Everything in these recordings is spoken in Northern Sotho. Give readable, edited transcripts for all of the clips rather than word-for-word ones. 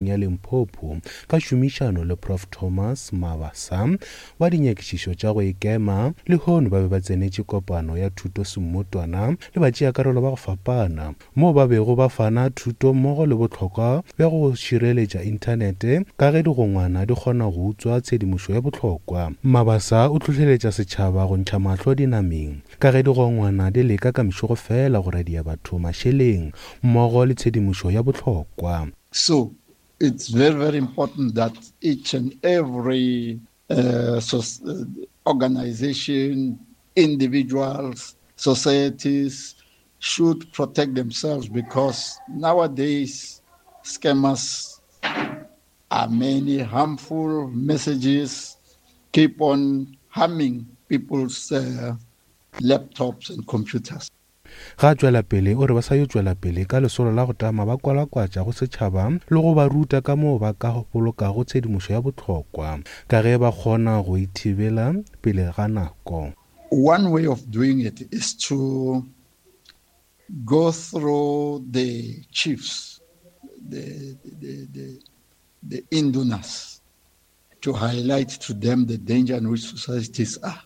Ya Limpopo ka tšhomišano le Prof Thomas Mabasa wa dinyakišišo tša go ikema, lehono ba be ba tsenetše kopano ya thuto semmotwana le batšeakarolo ba go fapana moo ba bego ba fana thuto mmogo le bohlokwa bja go šireletša inthanete ka ge digongwana di kgona go utswa tshedimošo ya bohlokwa. Mabasa o hlohleletša setšhaba go ntšha mahlo dinameng ka ge digongwana di leka ka mešogo feela go radia batho mašeleng mmogo le tshedimošo ya bohlokwa. So it's very, very important that each and every uh, so, uh, organization, individuals, societies should protect themselves because nowadays scammers are many harmful messages keep on harming people's uh, laptops and computers. Ge a tšwela pele o re ba sa yo tšwela pele ka lesolo la go tama ba kwalakwatša go setšhaba le go ba ruta ka moo ba ka bolokago tshedimošo ya bohlokwa ka ge ba kgona go e thibela pele ga nako. One way of doing it is to go through the chiefs, the, the, the, the indunas, to highlight to them the danger in which societies are.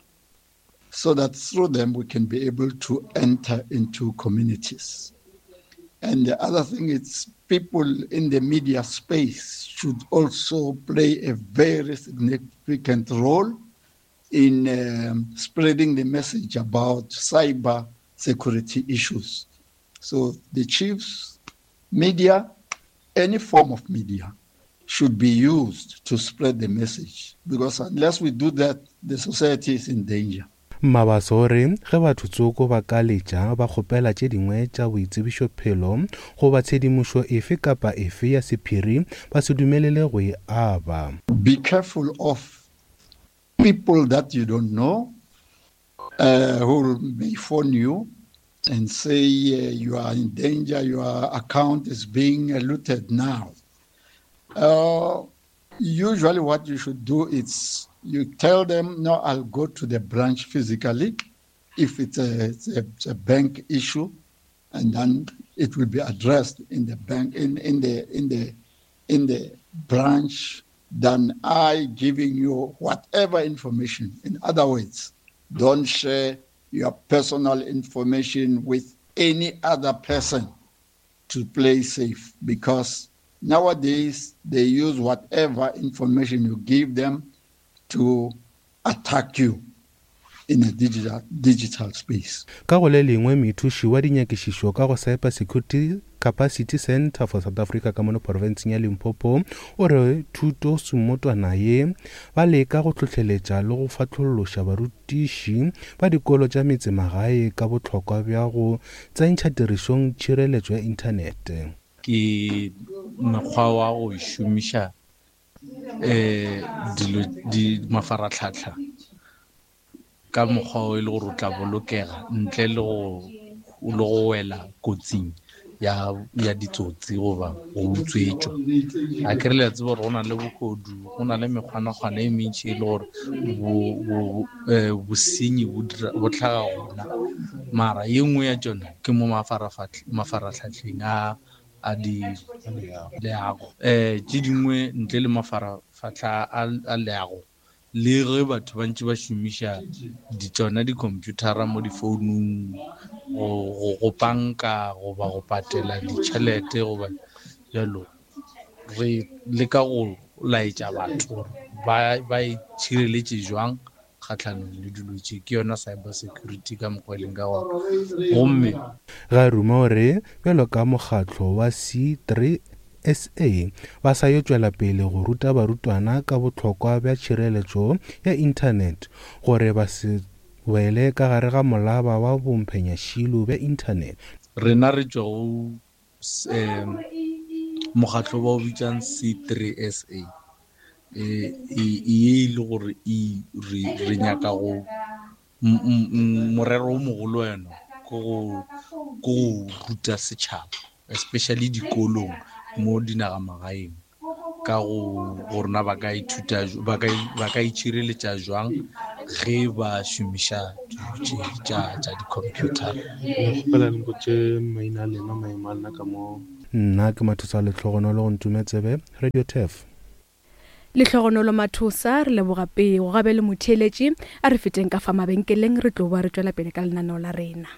so that through them we can be able to enter into communities. And the other thing is people in the media space should also play a very significant role in um, spreading the message about cyber security issues. So the chiefs, media, any form of media should be used to spread the message because unless we do that, the society is in danger. Mabaso o re ge batho tsoko ba ka letša ba kgopela tše dingwe tša boitsebišophelo goba tshedimošo efe kapa efe ya sephiri ba se dumelele go e aba. Be careful of people that you don't know uh, who may phone you and say uh, you are in danger, your account is being looted now. Uh, usually, what you should do is you tell them, no, I'll go to the branch physically if it's a, it's a, it's a bank issue, and then it will be addressed in the bank in, in the in the in the branch than I giving you whatever information. In other words, don't share your personal information with any other person to play safe because nowadays they use whatever information you give them to attack you in a digital, digital space. Ka go le lengwe, moithuši wa dinyakišišo ka go Cyber Security Capacity Centre for South Africa ka mono profenseng ya Limpopo o re thuto semmotwana ye ba leka go hlohleletša le go fahlolloša barutiši ba dikolo tša metsemagae ka bohlokwa bja go tsentšha tirišong tšhireletšo ya inthanete. Ke mokgwa wa go šomiša um dilo di mafaratlhatlha ka mokgwa o e le gore o tla bolokega ntle le go le go wela kotsing ya ya ditsotsi goba go utswetšwa a ke re le a tseba gore go na le bohodu go na le mekgwanakgwana e mentši e le gore bosenyi bo tlhaga gona mara ye nngwe ya tšona ke mo mafaratlhatlheng a a di leago um tše dingwe ntle le mafarafatlha a leago le ge batho ba ntše ba šomiša ditšona di-computer-ra mo difounung go panka goba go patela ditšhelete goba jalo re leka go laetša batho gore ba itšhireletše jwang kgahlanong le dilo tše ke yona cyber security ka mokgwa e leng ka gona gomme Ga ruma o re bjalo ka mokgatlo wa C3SA ba sa yo tšwela pele go ruta barutwana ka bohlokwa bja tšhireletšo ya inthanete gore ba se wele ka gare ga molaba wa bomphenyašilo bja inthanete. Rena re tšwa go um mokgatlo ba o bitsang C3SA e e le gore e re nyaka go morero o mogolo wena ke go go ruta setšhaba especially dikolong mo dinagamagaeng ka go gore na ba ka ithuta ba ka ba ka itšhireletša jwang ge ba šomiša dilo tše tša tša di-computer. Kgopela le mpotše maina a lena, maemo a lena ka mo. Nna ke Mathosa Lehlogonolo go Ntume Tsebe, Radio Turf. Lehlogonolo Mathosa, re leboga pego. Gabe le motheeletši, a re feteng ka fa mabenkeleng re tlo ba re tšwela pele ka lenaneo la rena.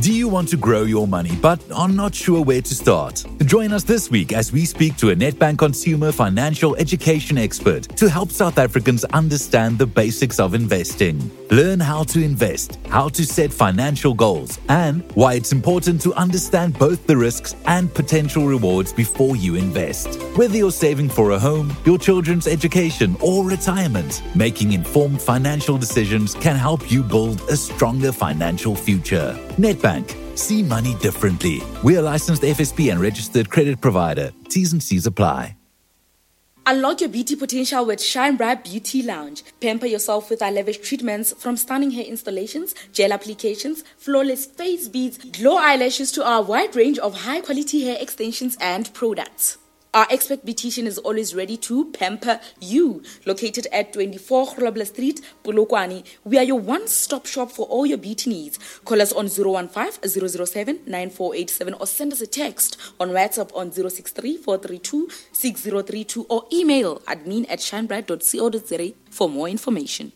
Do you want to grow your money but are not sure where to start? Join us this week as we speak to a Nedbank consumer financial education expert to help South Africans understand the basics of investing. Learn how to invest, how to set financial goals, and why it's important to understand both the risks and potential rewards before you invest. Whether you're saving for a home, your children's education, or retirement, making informed financial decisions can help you build a stronger financial future. Nedbank. See money differently. We are licensed FSP and registered credit provider. T's and C's apply. Unlock your beauty potential with Shine Bright Beauty Lounge. Pamper yourself with our lavish treatments from stunning hair installations, gel applications, flawless face beads, glow eyelashes to our wide range of high quality hair extensions and products. Our expert beautician is always ready to pamper you. Located at 24 Grobler Street, Polokwane, we are your one-stop shop for all your beauty needs. Call us on 015 007 9487 or send us a text on WhatsApp on 063 432 6032 or email admin at shinebright.co.za for more information.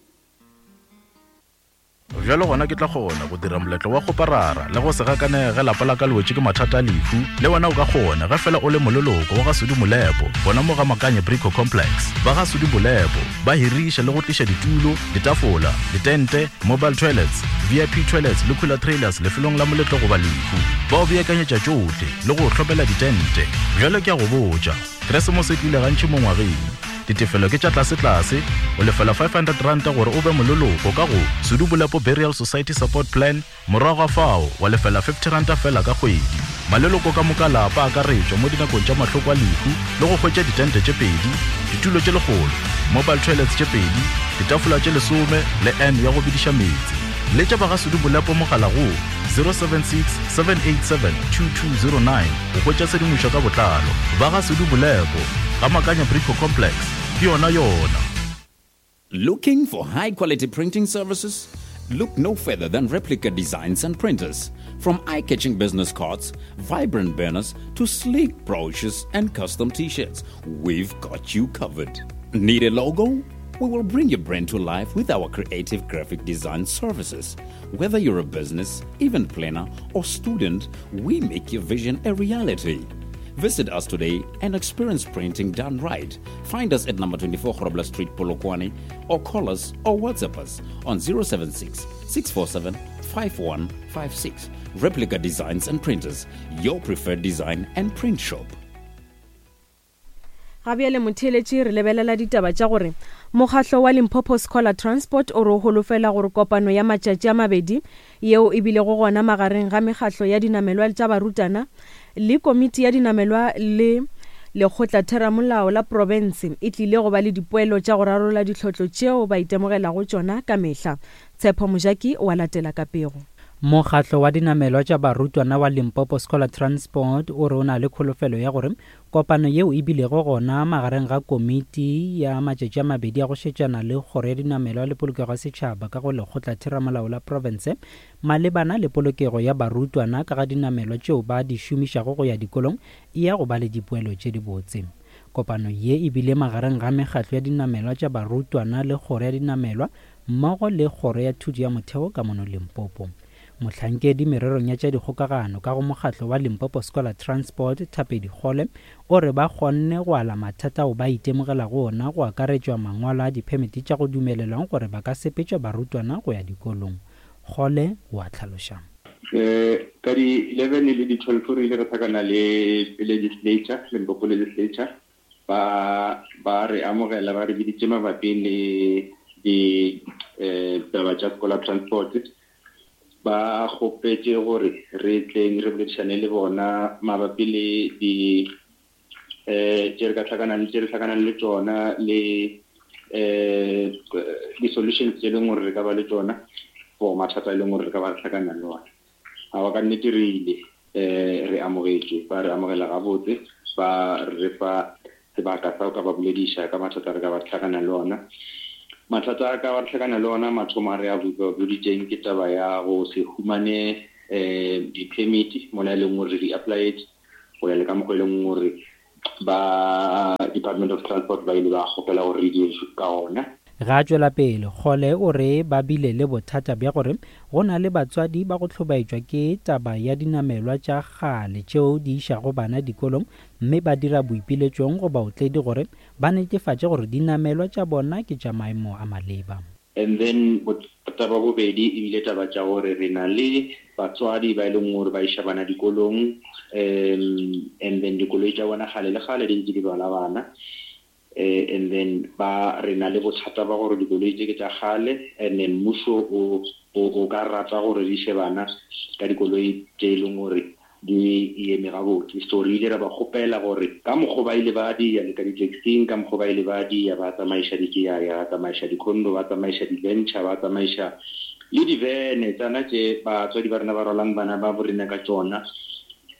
Bjalo gona ke tla kgona go dira moletlo wa kgoparara le go se gakanege ge lapa la ka le wetše ke mathata a lehu. Le wena o ka kgona ge fela o le moleloko wa ga Sudi Molepo gona mo ga Makanye Brico Complex. Ba ga Sudi Molepo ba hiriša le go tliša ditulo, ditafola, ditente, mobile toilets, VIP toilets le cooler trailers lefelong la moletlo goba lehu. Ba o beakanyetša tšohle le go o hlopela ditente. Bjalo ke a go botša, Keresemose e tlile gantši mo ngwageng. Ditefelo ke tša tlasetlase, o lefela R500 gore o be moleloko ka go Sudu Bolepo Burial Society Support Plan, morago ga fao wa lefela R50 feela ka kgwedi. Maleloko ka moka a lapa a akaretšwa mo dinakong tša mahloko a lehu le go hwetša ditente tše pedi, ditulo tše lekgolo, mobile toilets tše pedi, ditafola tše lesome le urn ya go bediša meetse. Letša ba ga Sudu Bolepo mogala go 076 787 2209 go hwetša tshedimošo ka botlalo. Ba ga Sudu Bolepo, ga Makanya Brico Complex, ke yona yona. Looking for high quality printing services? Look no further than Replica Designs and Printers. From eye catching business cards, vibrant banners, to sleek brochures and custom t shirts, we've got you covered. Need a logo? We will bring your brand to life with our creative graphic design services. Whether you're a business, event planner, or student, we make your vision a reality. Visit us today and experience printing done right. Find us at number 24 Grobler Street, Polokwane, or call us or WhatsApp us on 076 647 5156. Replica Designs and Printers, your preferred design and print shop. Ga bjale motheeletši re lebelela ditaba tša gore mokgahlo wa Limpopo Scholar Transport o re o holofela gore kopano ya matšatši a mabedi yeo e bilego gona magareng ga mekgahlo ya dinamelwa tša barutana le komiti ya dinamelwa le lekgotlatheramolao la profense e tlile go ba le dipoelo tša go rarolla ditlhotlo tšeo ba itemogelago tšona ka mehla. Tshepo Mojaki o a latela ka pego. Mokgatlo wa dinamelwa tša barutwana wa Limpopo Scholar Transport o re o na le kholofelo ya gore Kopano yeo e bilego gona magareng ga komiti ya matšatši a mabedi a go šetšana le Kgoro ya Dinamelwa le Polokego ya Setšhaba ka go Lekgotlatheramolao la Profense malebana le polokego ya barutwana ka ga dinamelwa tšeo ba di šomišago go ya dikolong e ya go ba le dipoelo tše dibotse. Kopano ye e bile magareng ga mekgatlo ya dinamelwa tša barutwana le Kgoro ya Dinamelwa mmogo le Kgoro ya Thuto ya Motheo ka mono Limpopo. Mohlankedi mererong ya tša dikgokagano ka go mokgatlo wa Limpopo Scholar Transport, Thapedi Kgole, o re ba kgonne go ala mathata ao ba itemogelago ona go akaretšwa mangwalo a diphemiti tša go dumelelwang gore ba ka sepetšwa barutwana go ya dikolong. Kgole o a hlaloša. Ka di 11 le di 12 re ile ra hlakana le legislature, Limpopo legislature, ba ba re amogela ba re biditše mabapi le di eh, taba tša scholar transport ba kgopetše gore re tleng re boledišane le bona mabapi le di eh tše re ka tlhakanang tše re tlhakanang le tšona le eh di-solutions tše e leng gore re ka ba le tšona for mathata e leng gore re ka ba re tlhakana le ona. Aowa, ka nnete re ile. Re amogetšwe. Ba re amogela gabotse, ba re fa sebaka sa go ka ba bolediša ka mathata a re ka ba re hlakana le ona. Mathata a ka ba re hlakana le ona, mathomo a re a boditšeng ke taba ya go se humane di-permit mola e leng gore re di applyetše. go ya le ka mokgwa e leng gore ba Department of Transport ba ile ba kgopela gore re di ka gona. Ge a tšwela pele, Kgole o re ba bile le bothata bja gore go na le batswadi ba go hlobaetšwa ke taba ya dinamelwa tša kgale tšeo di išago bana dikolong mme ba dira boipiletšong go baotledi gore ba netefatše gore dinamelwa tša bona ke tša maemo a maleba. And then bothata ba bobedi e bile taba tša gore re na le batswadi ba e leng gore ba iša bana dikolong um and then dikoloi tša bona kgale le kgale di ntse di rwala bana eh, and then ba re na le bothata ba gore dikoloi tše ke tša kgale and then mmušo o o ka rata gore di iše bana ka dikoloi tše e leng gore di eme gabotse. So re ile ra ba kgopela gore ka mokgo ba ile ba di ya le ka di-taxing, ka mokgo ba ile ba di ya ba tsamaiša dikeyaya, ba tsamaiša di-condo, ba tsamaiša di-venture, ba tsamaiša le divene tsana tše batswadi ba rena ba rwalang bana ba bo rena ka tšona.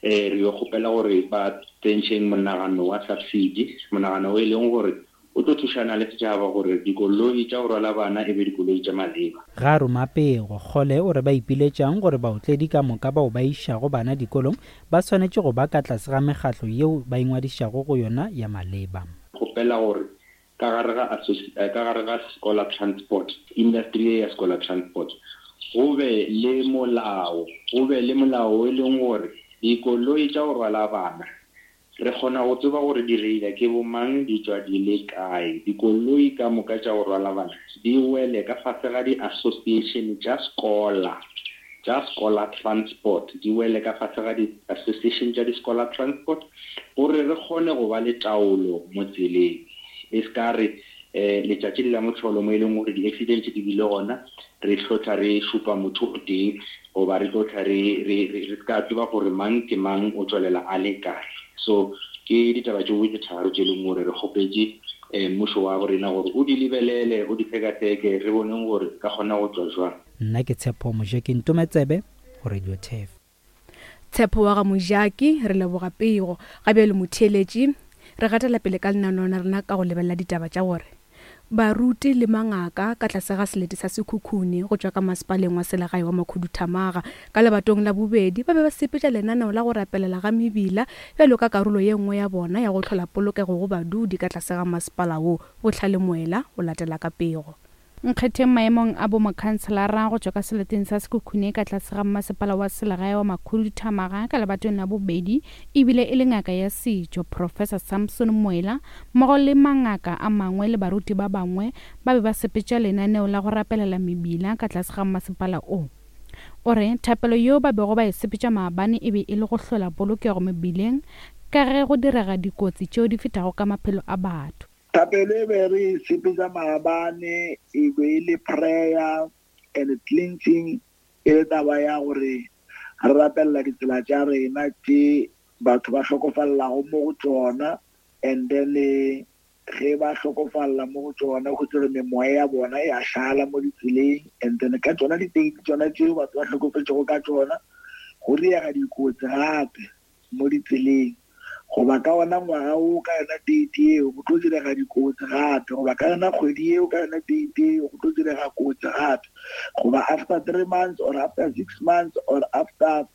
Um re yo kgopela gore ba tsentšheng monagano wa subsidy, monagano o e leng gore O tlo thušana le setšhaba gore dikoloi tša go rwala bana e be dikoloi tša maleba. Ga roma pego, Kgole o re ba ipiletšang gore baotledi ka moka bao ba išago bana dikolong ba swanetše go ba ka tlase ga mekgatlo yeo ba ingwadišago go yona ya maleba. Kgopela gore ka gare ga ka gare ga scholar transport, industry ye ya scholar transport, go be le molao, go be le molao o e leng gore dikoloi tša go rwala bana Re kgona go tseba gore direila ke bomang, di tšwa di le kae. Dikoloi ka moka tša go rwala bana di wele ka fase ga di-association tša scholar, tša scholar transport, di wele ka fase ga di-association tša di-scholar transport gore re kgone go ba le taolo mo tseleng. E se ka re um letšatši le la mohlolo mo e leng gore di-accident di bile gona, re hlotla re šupa motho o tee goba re tlo tla re, re, re, re se ka tseba gore mang ke mang o tšwelela a le kae. So ke ditaba tšeo tše tharo tše e leng gore re kgopetše um mmušo wa borena gore o di lebelele, o di sekaseke, re boneng gore re ka kgona go tšwa jwang. Nna ke Tshepo Mojaki Ntometsebe go Radio Turf. Tshepo wa ga Mojaki, re leboga pego. Ga bjale motheeletši, re gatela pele ka lenaneo la rena ka go lebelela ditaba tša gore baruti le mangaka ka tlase ga selete sa Sekhukhune go tšwa ka masepaleng wa selegae wa Makhuduthamaga ka lebatong la bobedi ba be ba sepetša lenaneo la go rapelela ga mebila bjalo ka karolo ye nngwe ya bona ya go hlola polokego go badudi ka tlase ga masepala wo. Bohlale Moela o latela ka pego. Nkgetheng maemong a bomokhanselara go tšwa ka seleteng sa Sekhukhune ka tlase ga mmasepala wa selegae wa Makhuduthamaga ka lebatong la bobedi ebile e le ngaka ya setšo Professor Samson Moela mmogo le mangaka a mangwe le baruti ba bangwe ba be ba sepetša lenaneo la go rapelela mebila ka tlase ga mmasepala o. O re thapelo yeo ba bego ba e sepetša maabane e be e le go hlola polokego mebileng ka ge go direga dikotsi tšeo di fetago ka maphelo a batho. Thapelo e be re e sepetša maabane e be e le prayer and cleansing, e le taba ya gore re rapelela ditsela tša rena tše batho ba hlokofalelago mo go tšona, and then ge ba hlokofalela mo go tšona go tsere memoya ya bona ya šala mo ditseleng, and then ka tšona diteiti tšona tšeo batho ba hlokofetšego ka tšona go diega dikotsi gape mo ditseleng, goba ka wona ngwaga wo ka yona date yeo go tlo direga dikotsi gape, goba ka yona kgwedi yeo ka yona date yeo go tlo direga kotsi gape, goba after 3 months or after 6 months or after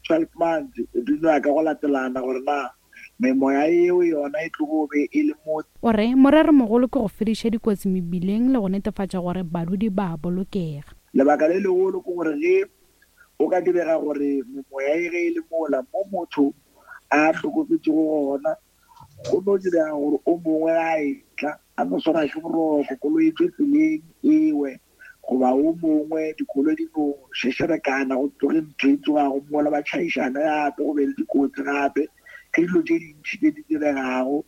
12 months, di no ya ka go latelana gore na memoya yeo yona e tlogo be e le mo. O re moreromogolo ke go fediša dikotsi mebileng le go netefatša gore badudi ba a bolokega. Lebaka le legolo ke gore ge Go ka direga gore memoya e ge e le mola mo motho a hlokofetšego gona, go no direga gore o mongwe a etla a no swarwa ke boroko, koloi e tšwe tseleng e we, goba o mongwe dikoloi di no šešerekana go tloge ntho e tsogago mola ba tšhaišana gape go be le dikotsi gape. Ke dilo tše dintši tše di diregago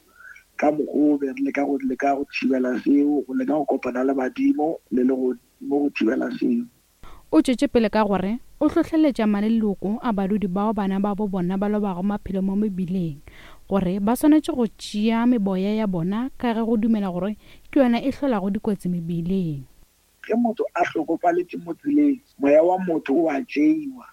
ka mokgwa o be re leka go leka go thibela seo, go leka go kopana le badimo le legodimo go thibela seo. O tšwetše pele ka gore o hlohleletša maleloko a badudi bao bana babo bona ba lobago maphelo mo mebileng gore ba swanetše go tšea meboya ya bona ka ge go dumela gore ke yona e hlolago dikotsi mebileng. Ge motho a hlokofaletše mo tseleng, moya wa motho o a tšeiwa.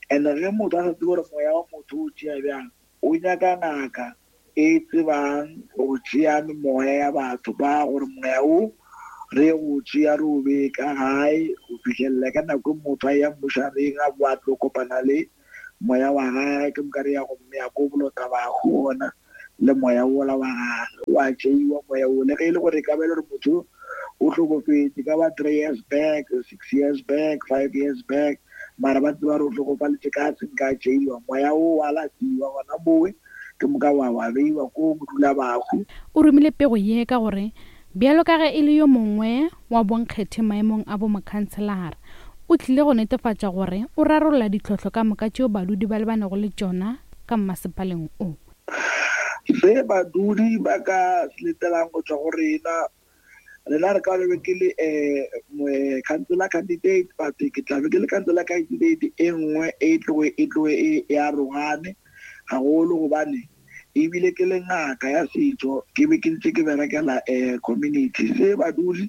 And ge motho a sa tsebe gore moya wa motho o tšea bjang, O nyaka ngaka e tsebang go tšea memoya ya batho ba gore moya wo re ye go o tšea re o bee ka gae go fihlelela ka nako e motho a eya mmošareng a boa a tlo kopana le moya wa gage ke moka re ya go mmea ko bolota bahu gona le moya wola wa gage wa tšeiwa moya wo le ge e le gore e ka ba e le gore motho o hlokofetše ka ba three years back six years back five years back mara ba tseba gore o hlokofaletše ka se nka tšeiwa moya wo wa latiwa gona mowe ke moka wa wa beiwa ko bodula bahu. O romile pego ye ka gore bjalo ka ge e le yo mongwe wa bonkgethe maemong a bomokhanselara, o tlile go netefatša gore o rarolla ditlhohlo ka moka tšeo badudi ba lebanego le tšona ka mmasepaleng o. Se badudi ba ka se letelang go tšwa go rena, rena re ka be ke le um councillor candidate but ke tla be ke le councillor candidate e nngwe e tloge e tloge e arogane gagolo gobane ebile ke le ngaka ya setšo ke be ke ntse ke berekela um community. Se badudi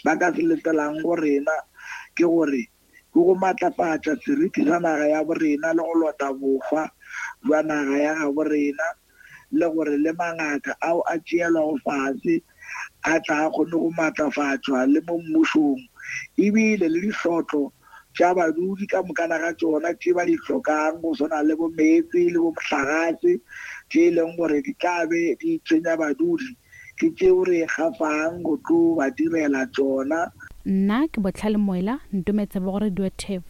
ba ka se letelang go rena ke gore ke go matlafatša seriti sa naga ya borena le go lota bohwa bja naga ya gabo rena le gore le mangaka ao a tšeelwago fase a tla a kgone go matlafatšwa le mo mmušong ebile le dihlotlo tša badudi ka mokana ga tšona tše ba di hlokang go swana le bo meetse le bo mohlagase tše e leng gore di tla be di tshwenya badudi ke tšeo re gafang go tlo ba direla tšona. Nna ke Bohlale Moela, Ntometse bo go Radio Turf.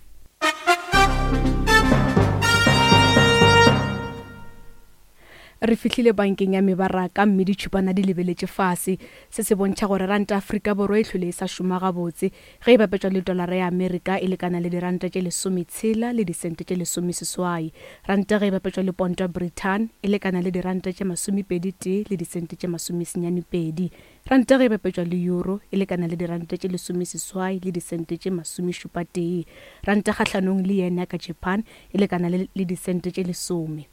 Re fihlile bankeng ya mebaraka mme ditšhupana di lebeletše fase. Se se bontšha gore ranta Afrika Borwa e hlwele e sa šoma gabotse. Ge e bapetšwa le tolara ya Amerika e lekana le diranta tše lesometshela le disente tše lesomeseswai. Ranta ge e bapetšwa le ponto ya Britain e lekana le diranta tše masomepedi-tee le disente tše masomesenyane-pedi. Ranta ge e bapetšwa le euro e lekana le diranta tše lesomeseswai le disente tše masomešupa-tee. Ranta kgahlanong le yen ya ka Japan e lekana le le disente tše lesome.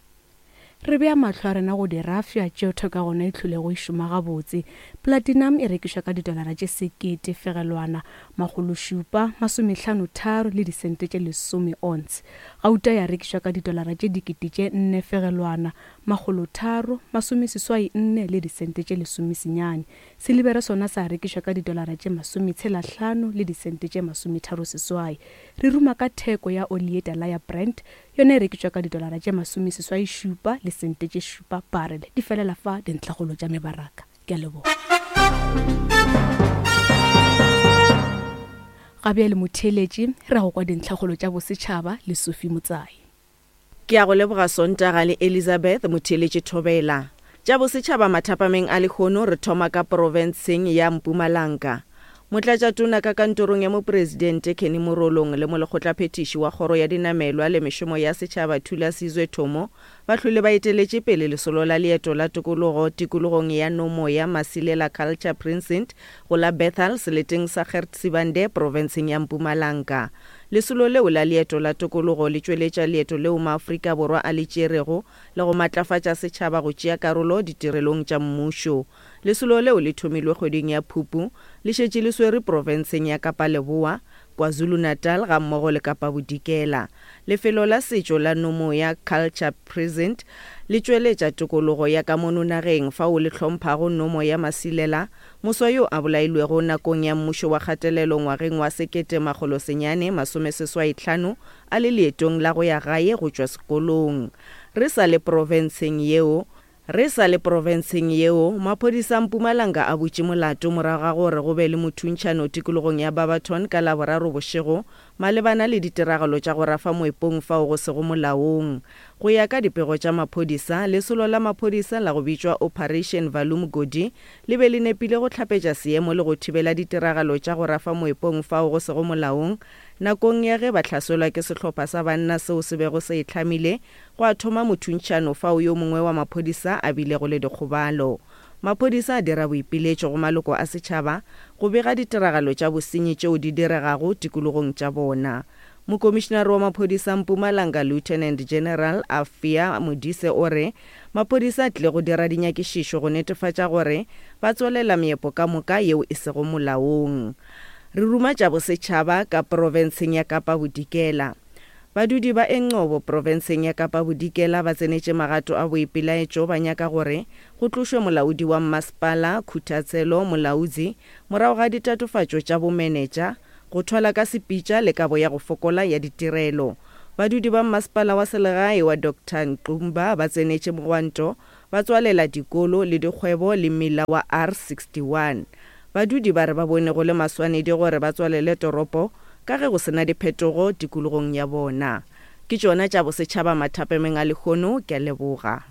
Re bea mahlo a rena go dirafša tšeo theko ya gona e hlolego e šoma gabotse. Platinum e rekišwa ka didolara tše sekete fegelwana makgološupa masomehlano tharo le disente tše lesome ounce. Gauta ya rekišwa ka didolara tše dikete tše nne fegelwana makgolotharo masomeseswai nne le disente tše lesomesenyane. Silibere sona sa rekišwa ka didolara tše masometshela hlano le disente tše masometharo seswai. Re ruma ka theko ya oli ye tala ya Brent Yona e rekišwa ka didolara tše masomeseswai šupa le sente tše šupa barele. Di felela fa dintlhakgolo tša mebaraka. Ke a leboga. Ga bjale motheeletši, re ya go kwa dintlhakgolo tša bosetšhaba le Sophie Motsai. Ke a go leboga Sontaga le Elizabeth motheeletši Thobela. Tša bosetšhaba mathapameng a lehono re thoma ka porofenseng ya Mpumalanga. Motlatšatona ka kantorong ya Mopresidente Kenny Morolong le Molekgotlaphethiši wa Kgoro ya Dinamelwa le Mešomo ya Setšhaba Thula Sizwe Thomo ba hlwele ba eteletše pele lesolo la leeto la tokologo tikologong ya Nomoya Masilela Culture Precinct go la Bethal seleteng sa Gert Sibande profenseng ya Mpumalanga. Lesolo leo la leeto la tokologo le tšweletša leeto leo maAfrika Borwa a le tšerego le go matlafatša setšhaba go tšea karolo ditirelong tša mmušo. Lesolo leo le thomilwe kgweding ya Phupu, le šetše le swere profenseng ya Kapa Leboa, KwaZulu-Natal gammogo le Kapa Bodikela. Lefelo la setšo la Nomoya Culture Precinct le tšweletša tokologo ya ka mono nageng fao le hlomphago Nomoya Masilela, moswa yo a bolailwego nakong ya mmušo wa kgatelelo ngwageng wa 1985 a le leetong la go ya gae go tšwa sekolong. Re sa le profenseng yeo, Re sa le profenseng yeo, maphodisa a Mpumalanga a butše molato morago ga gore go be le mothuntšhano tikologong ya Barberton ka Laboraro bošego malebana le ditiragalo tša go rafa moepong fao go sego molaong. Go ya ka dipego tša maphodisa, lesolo la maphodisa la go bitšwa Operation Valumgodi le be le nepile go hlapetša seemo le go thibela ditiragalo tša go rafa moepong fao go sego molaong nakong ya ge ba hlaselwa ke sehlopha sa banna seo se bego se itlhamile Gwa thoma mothuntšhano fao yo mongwe wa maphodisa a bilego le dikgobalo. Maphodisa a dira boipiletšo go maloko a setšhaba go bega ditiragalo tša bosenyi tšeo di diregago tikologong tša bona. Mokomišinare wa maphodisa Mpumalanga Lieutenant General Afia Modise o re maphodisa a tlile go dira dinyakišišo go netefatša gore ba tswalela meepo ka moka yeo e sego molaong. Re ruma tša bosetšhaba ka profenseng ya Kapa Bodikela. Badudi ba Engcobo profenseng ya Kapa Bodikela ba tsenetše magato a boipelaetšo ba nyaka gore go tlošwe molaodi wa mmasepala, Khuthatselo Molaudzi, morago ga ditatofatšo tša bomenetša, go thwala ka sepitša le kabo ya go fokola ya ditirelo. Badudi ba mmasepala wa selegae wa Doctor Nqumba ba tsenetše mogwanto ba tswalela dikolo le dikgwebo le mmila wa R61. Badudi ba re ba bone go le maswanedi gore ba tswalele toropo ka ge go se na diphetogo tikologong ya bona. Ke tšona tša bosetšhaba mathapemeng a lehono, ke a leboga.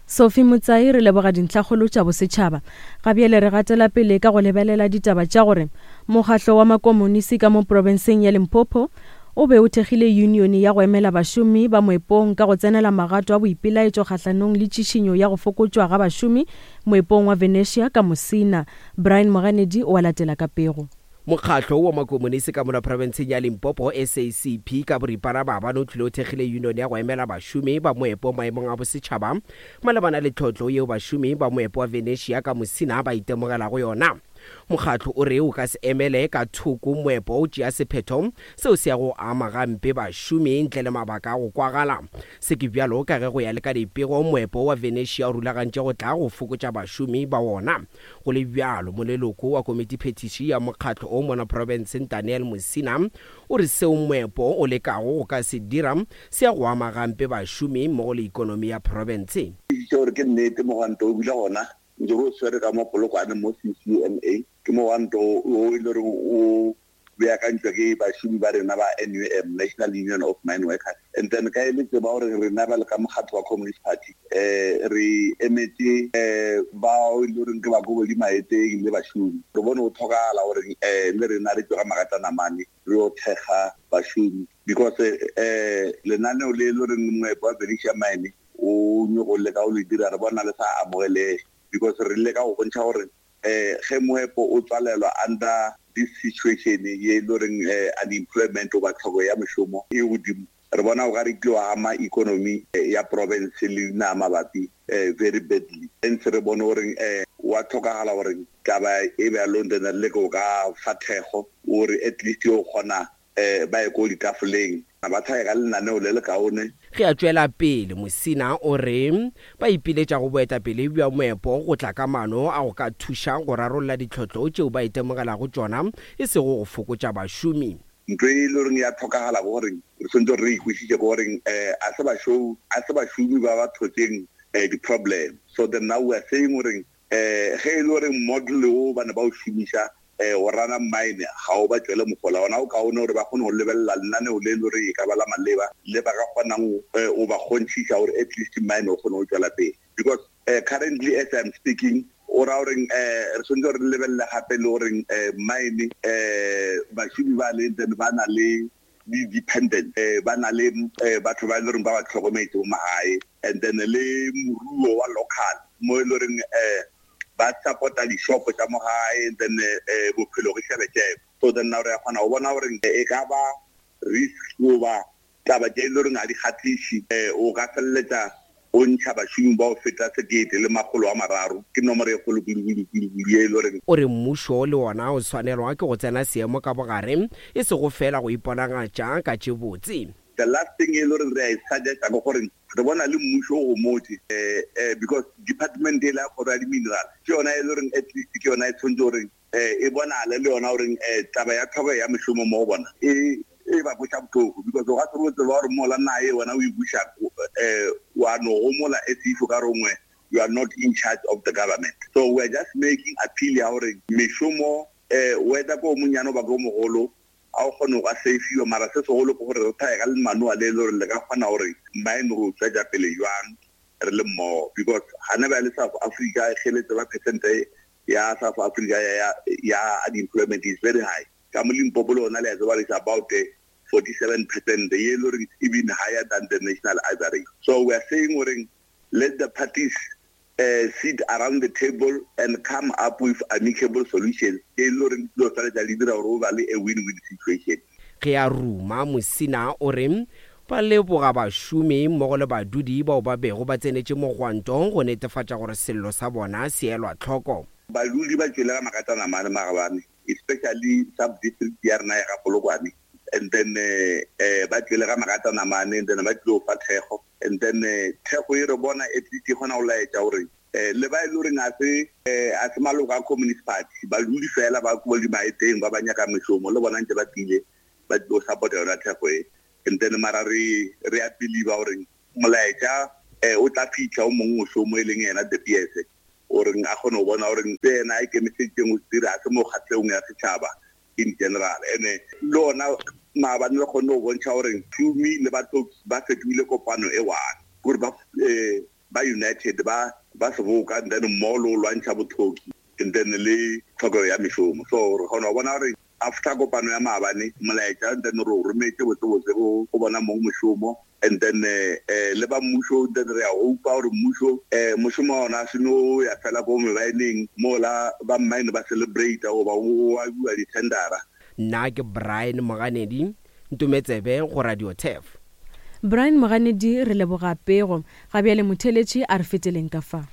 Sophie Motsai, Re leboga dintlhakgolo tša bosetšhaba. Ga bjale re gatela pele ka go lebelela ditaba tša gore mokgahlo wa makomonisi ka mo profenseng ya Limpopo o be o thekgile yunione ya go emela bašomi ba moepong ka go tsenela magato a boipelaetšo kgahlanong le tšišinyo ya go fokotšwa ga bašomi moepong wa Venetia ka Musina. Brian Moganedi o a latela ka pego. Mokgatlo wa Makomonisi ka mola profenseng ya Limpopo, SACP, ka boripana maabane o tlile o thekgile yunione ya go emela bašomi ba moepo maemong a bosetšhaba malebana le tlhotlo yeo bašomi ba moepo wa Venetia ka Musina ba itemogelago yona. Mokgatlo o re o ka se emele ka thoko moepo o tšea sephetho seo se yago go ama gampe bašomi ntle le mabaka a go kwagala. Se ke bjalo ka ge go ya le ka dipego moepo wa Venetia o rulagantše go tla go fokotša bašomi ba wona. Go le bjalo, moleloko wa komitiphethiši ya mokgatlo o mona profenseng Daniel Musina o re seo moepo o lekago go ka se dira se ya go ama gampe bašomi mmogo le ikonomi ya profense. Tiišitše gore ke nnete mogwanto o bile gona ntse re o swere ka mo Polokwane mo CCMA. Ke mogwanto wo e le goreng o beakantšwa ke bašomi ba rena ba NUM, National Union of Mine Workers. And then ka e le tseba gore rena bjalo ka mokgatlo wa Communist Party um re emetše um bao e le goreng ke ba Kobodi Maeteng le bašomi. Re bone go tlhokagala gore um le rena re tšwe ga magatanamane re yo thekga bašomi because um lenaneo le e le goreng moepo wa Venetia Mine o nyoko leka go le dira re bona le sa amogelege because re leka go bontšha gore um ge moepo o tswalelwa under this situation ye e le goreng unemployment goba tlhoko ya mošomo e godimo, re bona o ka re e tlo ama economy ya province le dinaga mabapi very badly. Hence re bone gore wa tlhokagala gore taba e bjalo then re leke go ka fa thekgo gore at least yo kgona um ba ye ko ditafoleng ba tlhage ka lenaneo le lekaone. Ge a tšwela pele, Musina o re ba ipiletša go boetapele bja moepo go tla ka maano a go ka thuša go rarolla ditlhotlo tšeo ba itemogelago tšona e sego go fokotša bašomi. Ntho e le goreng ya tlhokagala ke gore re swanetše gore re e kwešiše ke gore um a se bašou a se bašomi ba ba tlhotseng um di-problem. So then now we are saying gore um ge e le gore model wo ba ne ba o šomiša go rana mine ga o ba tšwele mohola, gona go kaone gore ba kgone go lebelela lenaneo le e le gore e ka ba la maleba le ba ka kgonang go ba kgonthiša gore at least mine o kgone go tšwela pele. Because currently as I'm speaking, o ra goreng re tshwanetse gore re lebelele gape le goreng mine bašomi ba le then ba na le di-dependent, ba na le batho ba e le goreng ba ba tlhokometse mo magae, and then le moruo wa local mo e le goreng ba support-a di-shop tša mo gae, and then bophelo ke šebešebe. So then now re a kgona go bona gore e ka ba risk goba taba tše e le goreng ga di kgahliše, o ka feleletša o ntšha bašomi ba go feta 1300, ke nomoro e kgolo kudu-kudu-kudu-kudu ye e le goreng. O re mmušo le wona o swanelwa ke go tsena seemo ka bogare, e sego feela go iponagatša ka tše botse. The last thing e le goreng re a e suggest-a ke gore re bona le mmušo o gomotše because department ela ya kgoro ya di-mineral ke yona e le goreng at least ke yona e tshwanetse gore e bonale le yona goreng taba ya tlhokego ya mešomo mo go bona e e ba kweša bohloko because o ka se re o tseba gore mola naga e wena o e buša wa no gomola as if o ka re gongwe you are not in charge of the government. So we are just making appeal ya gore mešomo whether ke o monnyane goba ke o mogolo a o kgone go ka safiwa, mara se segolo ke gore re thaye ka lemanoa le e le gore le ka kgona gore mine re o tšwetša pele jwang re le mmogo because gane bjale South Africa ge le tseba percent ya South Africa ya, ya unemployment is very high. Ka mo Limpopo le gona le a tseba is about 47% ye e le gore it's even higher than the national average. So we are saying gore let the parties sit around the table and come up with amicable solutions e le gore di tlo feleletša di dira gore o ba le a win-win situation. Ge a ruma, Musina o re ba leboga bašomi mmogo le badudi bao ba bego ba tsenetše mogwanto go netefatša gore sello sa bona se elwa tlhoko. Badudi ba tšwele ga Makatanamane maabane especially sub district ya rena ya ga Polokwane and then ba tšwele ga Makatanamane and then ba tlilo fa thekgo and then thekgo e re bona at least e kgona go laetša gore le ba e le goreng a se a se maloko a Communist Party badudi fela ba ko dimaeteng ba ba nyaka mešomo le bona ntse ba tlile ba tlilo support yona thekgo e. And then mara re re a believe gore molaetša um o tla fitlha o mongwe mošomo e leng yena De Beers goreng a kgone go bona gore se yena a ikemiseditseng go se dira ga se mo kgatlhegong ya setšhaba in general. Ene le ona maabane re kgonne go bontšha gore šomi le batho ba fetogile kopano e one gore ba um ba united ba ba seboka and then mmogo le go lwantšha botlhoki and then le tlhokego ya mešomo. So re kgona go bona gore after kopano ya maabane molaetša and then re o rometše botsebotse go go bona mong mošomo and then eh le ba mmušo then re a hopa gore mmušo eh mošomo wa ona se no ya fela ko mebaeneng mola ba mine ba celebrate goba go abiwa di-tendera. Nna ke Brian Moganedi, Ntometsebe go Radio Turf. Brian Moganedi re leboga pego. Ga bjale motheeletši a re feteleng ka fa.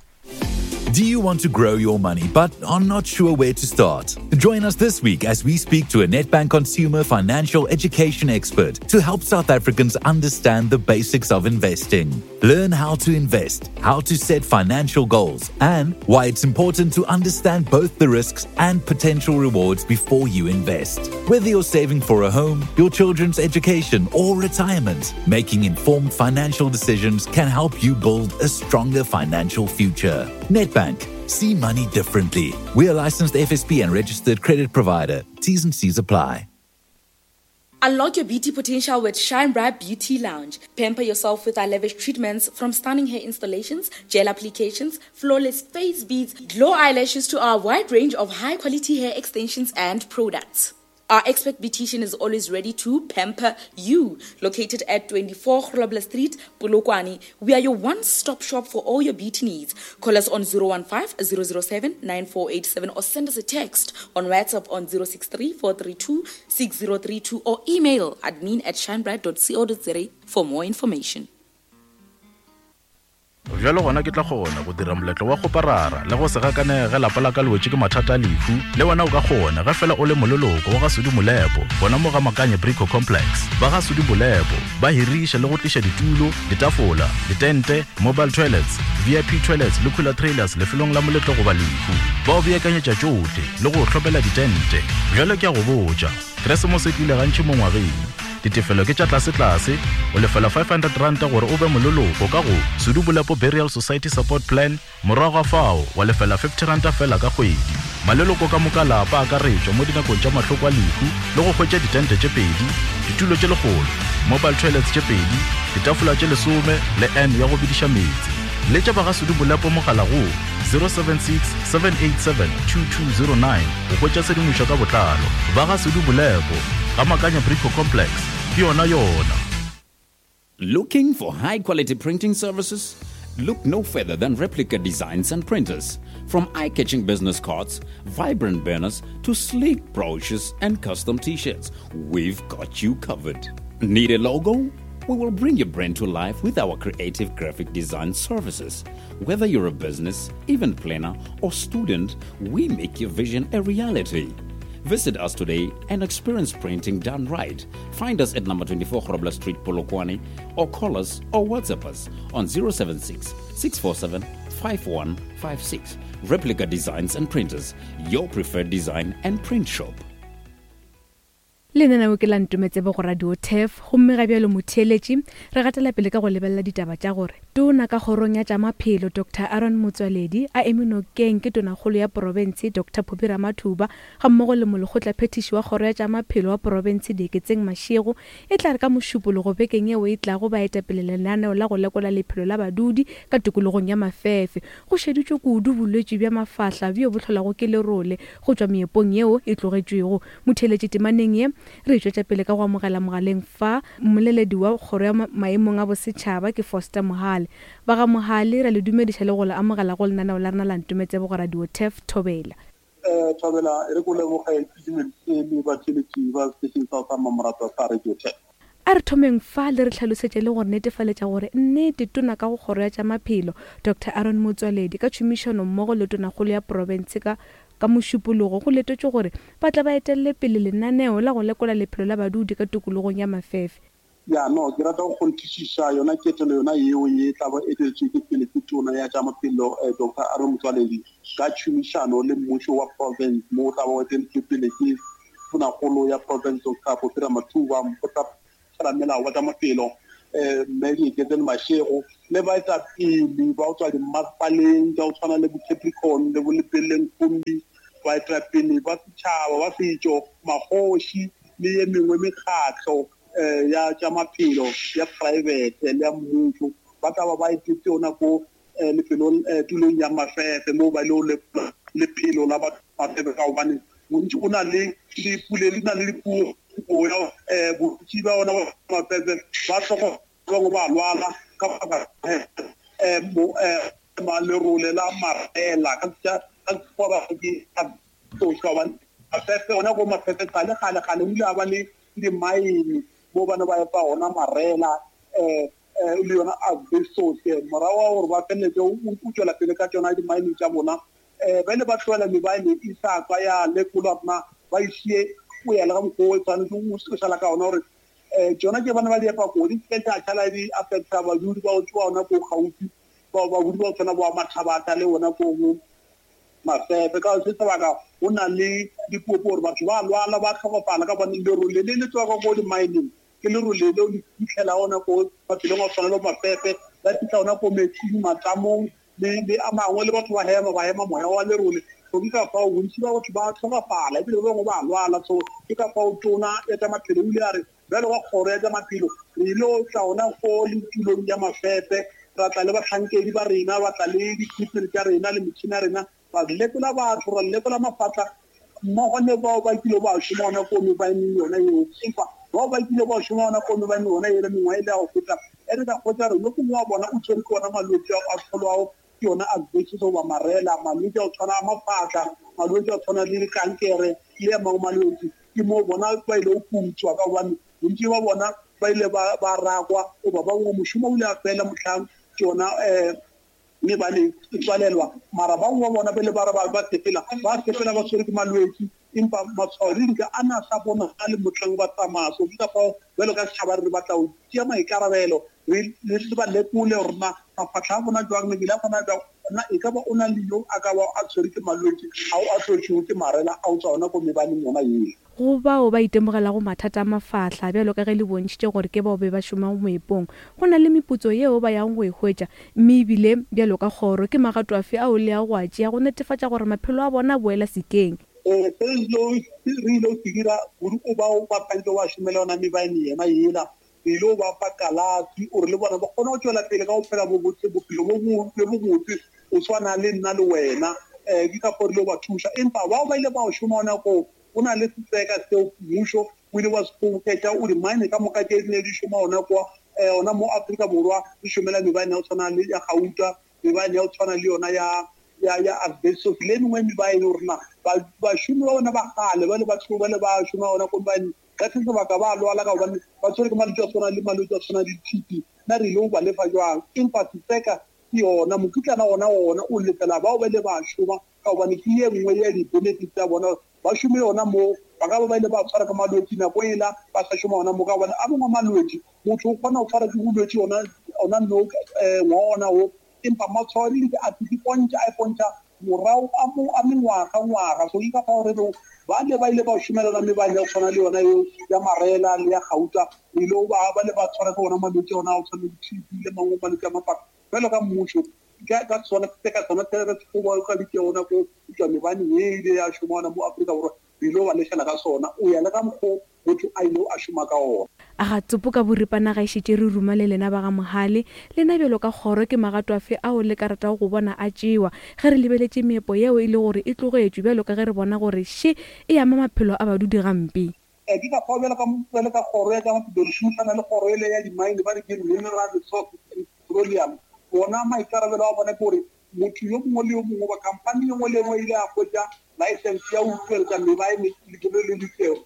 Do you want to grow your money but are not sure where to start? Join us this week as we speak to a Nedbank consumer financial education expert to help South Africans understand the basics of investing. Learn how to invest, how to set financial goals, and why it's important to understand both the risks and potential rewards before you invest. Whether you're saving for a home, your children's education, or retirement, making informed financial decisions can help you build a stronger financial future. Nedbank. See money differently. We are licensed FSP and registered credit provider. T's and C's apply. Unlock your beauty potential with Shine Bright Beauty Lounge. Pamper yourself with our lavish treatments from stunning hair installations, gel applications, flawless face beads, glow eyelashes to our wide range of high quality hair extensions and products. Our expert beautician is always ready to pamper you. Located at 24 Grobler Street, Polokwane, we are your one-stop shop for all your beauty needs. Call us on 015 007 9487 or send us a text on WhatsApp on 063 432 6032 or email admin at shinebright.co.za for more information. Bjalo gona ke tla kgona go dira moletlo wa kgoparara le go se gakanege ge lapa la ka le wetše ke mathata a lehu. Le wena o ka kgona ge fela o le moleloko wa ga Sudi Molepo gona mo ga Makanye Brico Complex. Ba ga Sudi Molepo ba hiriša le go tliša ditulo, ditafola, ditente, mobile toilets, VIP toilets le cooler trailers lefelong la moletlo goba lehu. Ba o beakanyetša tšohle le go o hlomela ditente. Bjale ke a go botša, Keresemose e tlile gantši mo ngwageng. Ditefelo ke tša tlasetlase, o lefela R500 gore o be moleloko ka go Sudu Bolepo Burial Society Support Plan, morago ga fao wa lefela R50 feela ka kgwedi. Maleloko ka moka a lapa a akaretšwa mo dinakong tša mahloko a lehu le go hwetša ditente tše pedi, ditulo tše lekgolo, mobile toilets tše pedi, ditafola tše lesome le urn ya go bediša meetse. Letša ba ga Sudu Bolepo mogala go 076 787 2209 go hwetša tshedimošo ka botlalo. Ba ga Sudu Bolepo. Ga Makanya Brico Complex, ke yona yona. Looking for high quality printing services? Look no further than Replica Designs and Printers. From eye catching business cards, vibrant banners, to sleek brochures and custom t shirts, we've got you covered. Need a logo? We will bring your brand to life with our creative graphic design services. Whether you're a business, event planner, or student, we make your vision a reality. Visit us today and experience printing done right. Find us at number 24 Grobler Street, Polokwane, or call us or WhatsApp us on 076 647 5156. Replica Designs and Printers, your preferred design and print shop. Lenaneo ke la Ntometsebe go Radio Turf gomme ga bjalo motheeletši re gatela pele ka go lebelela ditaba tša gore Tona ka kgorong ya tša maphelo Doctor Aaron Motsoaledi a eme nokeng ke Tonakgolo ya porofense Doctor Phophi Ramathuba gammogo le Molekgotlaphethiši wa kgoro ya tša maphelo wa porofense Dieketseng Mashego e tla re ka Mošupologo bekeng yeo e tlago ba etapele lenaneo la go lekola lephelo la badudi ka tikologong ya Mafefe go šeditšwe kudu bolwetši bja mafahla bjo bo hlolwago ke lerole go tšwa meepong yeo e tlogetšwego Motheeletši temaneng ye, re e tšwetša pele ka go amogela mogaleng fa mmoleledi wa Kgoro ya Maemong a Bosetšhaba ke Foster Mohale. Ba ga Mohale, re a le dumediša le go le amogela go lenaneo la rena la Ntometsebo go Radio Turf Thobela. Thobela, e re ke o leboge, ke dumediše le batheeletši ba setešeng sa sa mmamoratwa sa Radio Turf. A re thomeng fa le re hlalosetše le go re netefaletša gore nnete Tona ka go Kgoro ya tša Maphelo, Doctor Aaron Motsoaledi ka tšhomišano mmogo le Tonakgolo ya Profense ka Ka Mošupologo go letetšwe gore ba tle ba etelele pele lenaneo la go lekola lephelo la badudi ka tokologong ya Mafefe. Ya, no, ke rata go kgonthišiša yona ketelo yona yeo ye tla ba eteletšwe ke pele ke Tona ya tša Maphelo Doctor Aaron Motsoaledi ka tšhomišano le mmušo wa province mo o tla ba o eteletšwe pele ke Tonakgolo ya province Doctor Phophi Ramathuba. Ramelao wa tša Maphelo, Mme Dieketseng Mashego, le baetapele ba go tšwa dimmasepaleng tša go tshwana le bo Capricorn le bo Lepelleng Khumbi, baetapele ba setšhaba ba setšo, magoši le ye mengwe mekgatlo ya tša maphelo ya praebete le ya mmušo ba tla ba ba etetše ona ko lefelong tulong ya Mafefe moo ba ile lekola lephelo la batho Mafefe ka gobane bontši o na le dipule di na le dipuo ya bontši ba ona Mafefe ba hloka bangwe ba lwala ka baka lerole la marela ka sekgowa ba ke tlošwa gobane Mafefe ona ko Mafefe kgale kgale kgale o ile a ba le dimaene mo ba ne ba epa ona marela um le yona asbestos morago ga gore ba feleletše o tšwela pele ka tšona dimaeneng tša bona um ba ile ba tlogela mebaene e sa tswa ya lekolwa rena ba išie o ya le ga mokgwa o tshwanetse o šala ka ona gore um tšona tše bana ba di epa ko di seke tša šala di affecta badudi ba go tšwa ona ko kgauswi badudi ba go tshwana bo Mathabatha le ona ko Mafefe. Ka se sebaka go na le dipuopuo gore batho ba lwala ba hlokofala ka gobane lerole le le tswa ko di-mining ke lerole leo le fitlhela ona ko mafelong a go tshwana le Mafefe, la fitlha ona ko metsing, matamong le le a mangwe le batho ba hema ba hema moya wa lerole. So ke ka fao bontši ba batho ba hlokafala ebile ba bangwe ba lwala. So ke ka fao tona ya tša maphelo o ile a re bjalo ka kgoro ya tša maphelo re ile go tla ona ko le tulong ya Mafefe ra tla le bahlankedi ba rena ba tla le di-equipment tša rena le metšhini ya rena ra lekola batho ra lekola mafatla mmogo le bao ba kile ba šoma gona ko mebaeneng yona yeo. Empa bao ba kile ba šoma gona ko mebaeneng yona yela mengwaga e le ya go feta, e re ka hwetša gore yo mongwe wa bona o tshwerwe ke ona malwetši ao a hlolwago ke yona asbestos goba marela, malwetši a go tshwana a mafatla, malwetši a go tshwana le dikankere le a mangwe malwetši. Ke moo bona ba ile go putswa ka gobane bontši ba bona ba ile ba rakwa goba ba bangwe mošomo o ile a fela mohlang tšona um mme ba le tswalelwa. Mara ba bangwe ba bona pele ba re ba sepela, ba sepela ba tshwerwe ke malwetši, empa matshwao le dika a na sa bonagale mohlang ba tsamaya. So ke ka fao bjalo ka setšhaba re batla go tšea maikarabelo, re re ba lekole gore na mafahla a bona jwang, mebele ya bona jwang, na e ka ba o na le yo a ka ba a tshwerwe ke malwetši ao a hlotšwego ke marela a go tšwa gona ko mebaneng yona yela. Go bao ba itemogelago mathata a mafahla, bjalo ka ge le bontšhitše gore ke bao be ba šomago moepong, go na le meputso yeo ba yago go e hwetša, mme e bile bjalo ka kgoro, ke magato afe ao le yago go a tšea go netefatša gore maphelo a bona a boela sekeng? Se re ilego se dira kudu go bao ba santšego ba šomela yona mebaene yena yela, re ile go ba fa kalafi gore le bona ba kgone go tšwela pele ka go phela bobotse, bophelo bo bobotse go swana le nna le wena. Ke ka fao re ile go ba thuša. Empa bao ba ile ba šoma gona koo, Go na le setseka seo mmušo o ile wa se kgoboketša o dimaene ka moka tše di ne di šoma gona kwa gona mo Afrika Borwa di šomela mebaene ya go tshwana le ya gauta, mebaene ya go tshwana le yona ya ya ya asbestos le e mengwe mebaene gore na bašomi ba bona ba kgale ba le ba ba le ba šoma gona ko mebaeneng ka se sebaka ba lwala ka gobane ba tshwere ke malwetši a tshwana le malwetši a tshwana le TB. Na re ile go ba lefa jwang? Empa setseka ke yona mokitlana ona ona o lefela bao ba ile ba šoma ka gobane ke ye nngwe ya di-benefits tša bona gore ba šome yona moo. Ba ka ba ba ile ba tshwara ke malwetši nako ela ba sa šoma gona moo, ka gobane a mangwe a malwetši motho o kgona go tshwara ke bolwetši ona ona no ngwaga ona wo, empa matshwao a dintši a ipontšha a ipontšha morago a mo a mengwaga ngwaga. So ke ka fao re rego bale ba ile ba šomelana mebane ya go tshwana le yona eo ya marela le ya gauta, re ile ba ba le ba tshwara ke ona malwetši ona a go tshwana le T_B le mangwe malwetši a mapaka. Bjalo ka mmušo ka ka sona se ka sona se re se kgobokaditše gona ko tšwa mebane ye ile ya šoma gona mo Afrika Borwa, re ile ba lefela ka sona o ya le ka mokgo motho a ile a šoma ka ona. A ga tsopo ka boripana ga e šetše re ruma le lena ba ga Mohale? Lena bjalo ka kgoro ke magato afe ao le ka ratago go bona a tšewa ge re lebeletše meepo yeo e le gore e tlogetšwe bjalo ka ge re bona gore še e ama maphelo a badudi gampe? Ke ka fao bjalo ka, bjalo ka kgoro ya tša maphelo re šomišana le kgoro ele ya dimaene ba re ke Mineral Resources and Petroleum. Bona maikarabelo a bona ke gore motho yo mongwe le yo mongwe goba khamphani ye nngwe le ye nngwe e ile ya hwetša license ya go tšweletša mebaene lefelong le le itšego,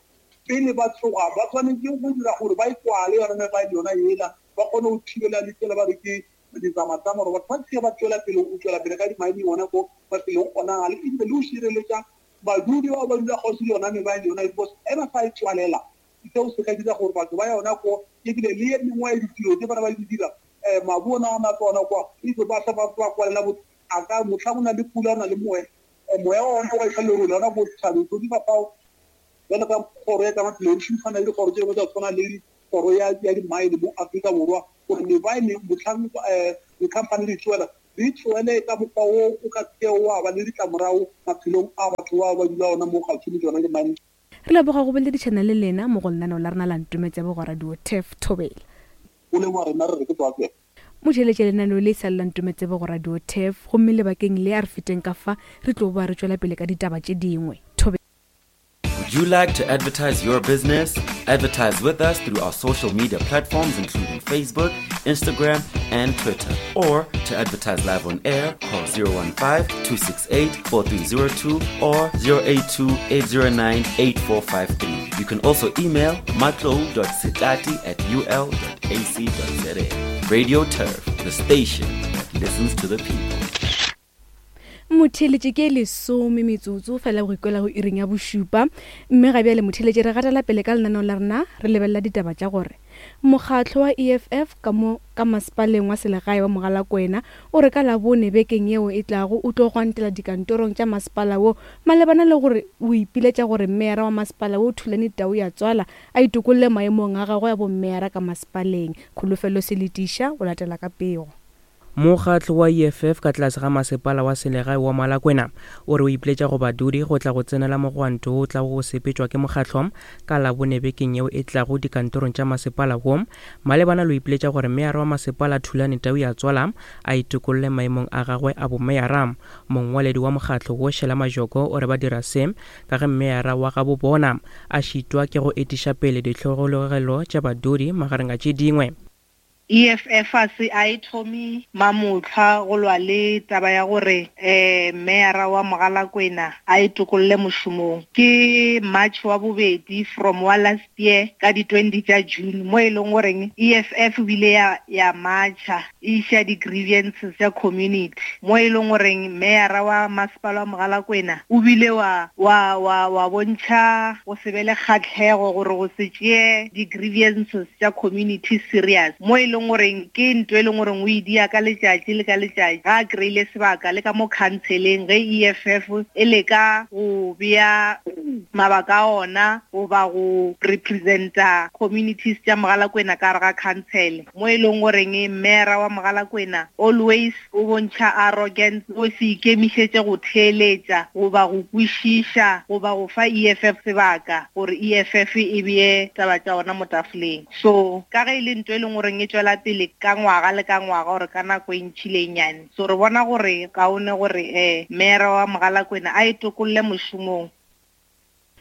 pele ba tloga ba swanetše go dira gore ba e kwale yona mebaene yona yela, ba kgone go thibela le tsela ba re ke ditsamatama gore batho ba se ke ba tšwela pele go tšwela pele ka dimaene gona ko mafelong ona ale, ebile le go šireletša Badudi bao ba dula kgauswi le yona mebaeng yona because ge ba sa e tswalela seo se ka dira gore batho ba yona ko ebile le ye mengwe ya ditiro tse bana ba di dira um mabu ona a matlo ona kwa ebile ba sa ba kwalela botho a ka motlha go na le pula o na le moya moya wa ona wa iša lerole ona ko dithabeng. So di ka fao bjalo ka kgoro ya tsa maphelo re šomisana le dikgoro tse dingwe tsa go tshwana le Kgoro ya ya Dimaene mo Afrika Borwa gore mebaene mohlang um dikhamphani di tšwela di tšwele ka mokgwa wo o ka se kego wa ba le ditlamorago maphelong a batho bao ba dula gona mo kgauswi le tšona dimaene. Re leboga go boledišana le lena mo go lenaneo la rena la Ntometse Bogo Radio Turf Thobela. Go leboga rena re re ke tswa Motheeletša lenaneo le sa le la Ntometse Bogo Radio Turf gomme lebakeng le a re feteng ka fa re tlo boa re tšwela pele ka ditaba tše dingwe. Thobela. Would you like to advertise your business? Advertise with us through our social media platforms, including Facebook, Instagram, and Twitter. Or to advertise live on air, call 015 268 4302 or 082 809 8453. You can also email matlo.sitati at ul.ac.za. Radio Turf, the station that listens to the people. Motheeletši ke lesome metsotso fela go ikwela go iring ya bošupa mme ga bjale motheeletši re gatela pele ka lenaneo la rena re lebelela ditaba tša gore mokgatlo wa EFF ka mo ka masepaleng wa selegae wa Mogalakwena o re ka Labone bekeng yeo e tlago o tlo gwantela dikantorong tša masepala wo malebana le gore o ipiletša gore meyara wa masepala wo Thulani Tau ya Tswala a itokolle maemong a gagwe a bommeyara ka masepaleng. Kholofelo Seletiša o latela ka pego. Mokgatlo wa EFF ka tlase ga masepala wa selegae wa Malakwena o re o ipiletša go badudi go tla go tsenela mogwanto wo o tlago go sepetšwa ke mokgatlo ka Labone bekeng yeo e tlago dikantorong tša masepala wo malebana le go ipiletša gore meyara wa masepala Thulani Tauyatswala a itokolle maemong a gagwe a bomeyara. Mongwaledi wa mokgatlo wo Shela Majoko o re ba dira se ka ge meyara wa gabo bona a šitwa ke go etiša pele ditlhohologelo tša badudi magareng a tše dingwe. EFF a se a e thome mamohla go lwa le taba ya gore um meyara wa Mogalakwena a e tokolle mošomong. Ke March wa bobedi from wa last year ka di 20 tša June mo e leng goreng EFF o bile ya ya marcha e iša di-grievances tša community mo e leng goreng meyara wa masepala wa Mogalakwena o bile wa wa wa wa bontšha go se be le kgahlego gore go se tšee di-grievances tša community serious mo e leng goreng ke nto e leng goreng o e dia ka letšatši le ka letšatši ga a kry-ile sebaka le ka mo counseleng ge EFF e leka go bea mabaka a ona goba go representa communities tša Mogalakwena ka gare ga council mo e leng goreng mmeera wa Mogalakwena always O bontšha arrogance, go se ikemišetše go theeletša goba go kwešiša goba go fa EFF sebaka gore EFF e bee taba tša ona mo tafoleng. So, ka ge e le nto e leng goreng e tšwela pele ka ngwaga le ka ngwaga or ka nako e ntši le e nnyane, so re bona gore kaone gore eh Meyara wa Mogalakwena a e tokolle mošomong.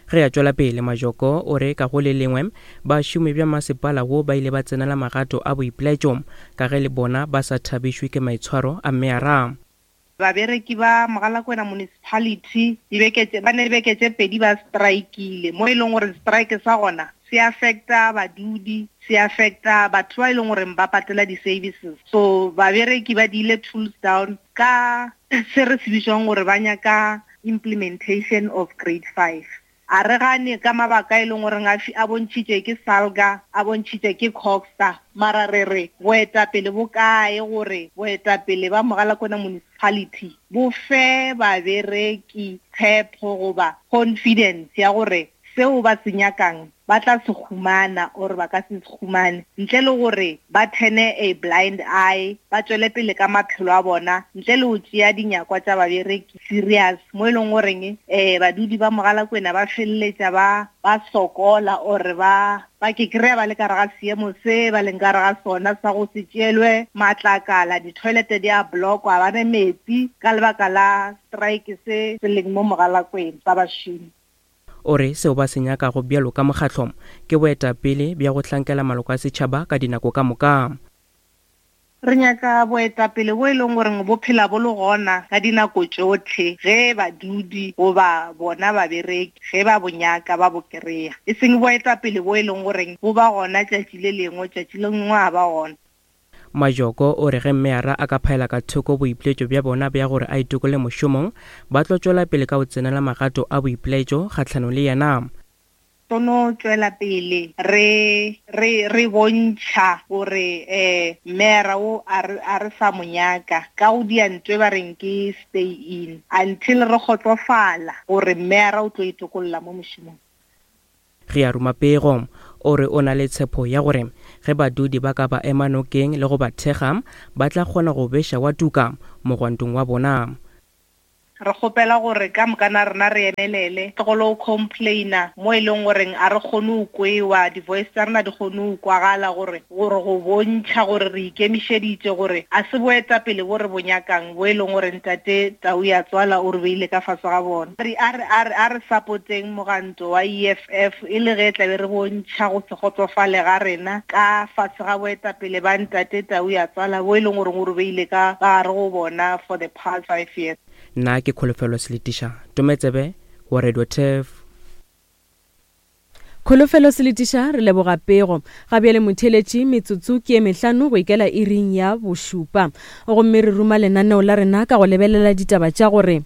Ge a tšwela pele, Majoko o re ka go le lengwe bašomi bja masepala wo ba ile ba tsenela magato a boipilaetšo ka ge le bona ba sa thabišwe ke maitshwaro a meyara. Babereki ba Mogalakwena Municipality dibeke tše ba ne dibeke tše pedi ba strikile mo e leng gore strike sa gona se affecta badudi se affecta batho ba e leng gore ba patela di-services so babereki ba diile tools down ka se re se bitswang gore ba nyaka implementation of grade 5 a re gane ka mabaka e leng goreng a a bontšhitšwe ke salga a bontšhitšwe ke coxta mara re re boetapele bo kae gore boetapele ba mogalakwena municipality bo fe babereki tshepo goba confidence ya gore seo ba se nyakang ba tla se humana or ba ka se se humane ntle le gore ba turne a blind eye ba tšwele pele ka maphelo a bona ntle le go tšea dinyakwa tša babereki serious mo e leng goreng um badudi ba Mogalakwena ba feleletša ba ba sokola or ba ba ke kry-a ba le ka re ga seemo se ba leng ka re ga sona sa go se tšeelwe matlakala di-toilet di a blockwa ba ne metsi ka lebaka la strike se se leng mo Mogalakwena sa bašomi. O re seo ba se nyakago bjalo ka mokgatlo ke boetapele bja go hlankela maloko a setšhaba ka dinako ka moka. Re nyaka boetapele bo e leng gore bo phela bo le gona ka dinako tšohle ge badudi goba bona babereki ge ba bo nyaka ba bo kry-a, e seng boetapele bo e leng gore bo ba gona tšatši le lengwe tšatši le lengwe ga ba gona. Majoko o re ge meyara a ka phaela ka thoko boipiletšo bja bona bja gore a itokole mošomong, ba tlo tšwela pele ka go tsenela magato a boipilaetšo kgahlanong le yena. Tlo no tšwela pele re, re, re bontšha gore um meyara wo a re, a re sa mo nyaka ka go dia nto e ba reng ke stay in until re kgotsofala gore meyara o tlo itokolla mo mošomong. Ge a ruma pego. O re o na le tshepo ya gore ge badudi ba ka ba ema nokeng le go ba thekga, ba tla kgona go beša wa tuka mogwantong wa bona. Re kgopela gore ka mokana rena re emelele, tlogolo o complaina mo e leng goreng a re kgone go kwewa, di-voice tsa rena di kgone go kwagala gore gore go bontšha gore re ikemišeditše gore a se boetapele bo re bo nyakang bo e leng gore ntate Tau ya tswala o re beile ka fase ga bona. Re a re a re a re sapoteng moganto wa EFF e le ge tlabe re bontšha go se kgotsofale ga rena ka fase ga boetapele ba ntate Tau ya tswala bo e leng gore o re beile ka gare go bona for the past 5 years. Nna ke Kholofelo Seletiša, Tometsebe wa Radio Turf. Kholofelo Seletiša, re leboga pego. Ga bjale motheeletši, metsotso ke ye mehlano go ikela iring ya bošupa. Gomme re ruma lenaneo la rena ka go lebelela ditaba tša gore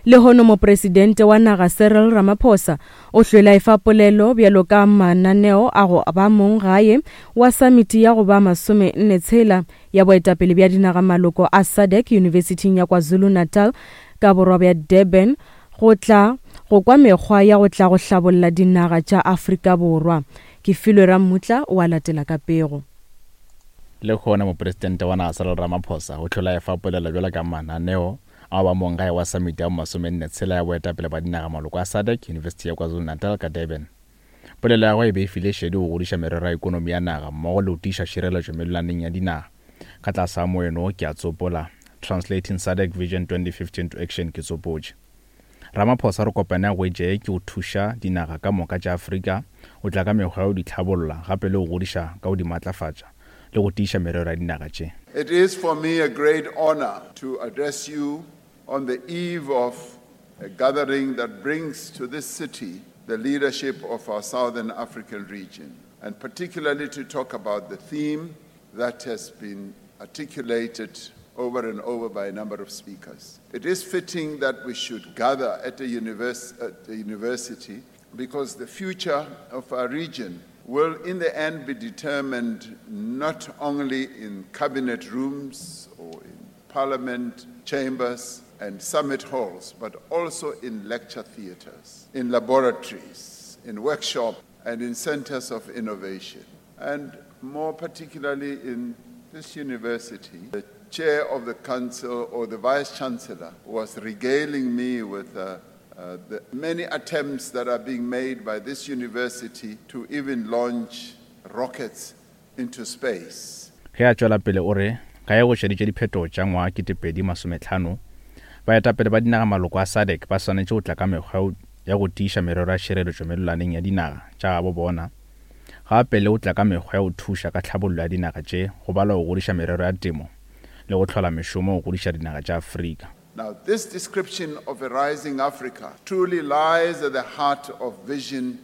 lehono Mopresidente wa naga Cyril Ramaphosa o hlwele a efa polelo bjalo ka mananeo a go ba mong gae wa samiti ya go ba masomenne tshela ya boetapele bja dinagamaloko a SADC Yunibesithing ya KwaZulu-Natal ka borwa bja Durban go tla go kwa mekgwa ya go tla go hlabolla dinaga tša Afrika Borwa. Kefilwe Rammutla o a latela ka pego. Lehono Mopresidente wa naga Cyril Ramaphosa o hlwele a efa polelo bjalo ka mananeo a go ba monggae wa samiti ya bomasomenne tshela ya boetapele ba dinagamaloko a SADC Yunibesithi ya KwaZulu-Natal ka Durban. Polelo ya gagwe e be e file šedi go godiša merero ya ekonomi ya naga mmogo le go tiiša šireletšo mellwaneng ya dinaga. Ka tlase ga moeno wo ke a tsopola, Translating SADC Vision 2050 into Action ke tsopotše. Ramaphosa re kopane ya go ke go thuša dinaga ka moka tša Afrika go tla ka mekgwa ya go di tlhabolla gape le go godiša ka go di matlafatša le go tiiša merero ya dinaga tše. It is for me a great honor to address you on the eve of a gathering that brings to this city the leadership of our Southern African region, and particularly to talk about the theme that has been articulated over and over by a number of speakers. It is fitting that we should gather at a, univers- at a university because the future of our region will in the end be determined not only in cabinet rooms or in parliament chambers and summit halls, but also in lecture theaters, in laboratories, in workshops, and in centers of innovation. And more particularly in this university, the chair of the council or the vice chancellor was regaling me with uh, uh, the many attempts that are being made by this university to even launch rockets into space. Ge a tšwela pele o re, Ka ge go šeditše diphetogo tša ngwaga 2050, baetapele ba dinagamaloko a SADC ba swanetše go tla ka mekgwa ya go tiiša merero ya tšhireletšo mellwaneng ya dinaga tša gabo bona, gape le go tla ka mekgwa ya go thuša ka tlhabollo ya dinaga tše go balwa go godiša merero ya temo le go hlola mešomo go godiša dinaga tša Afrika. Now, this description of a rising Africa truly lies at the heart of Vision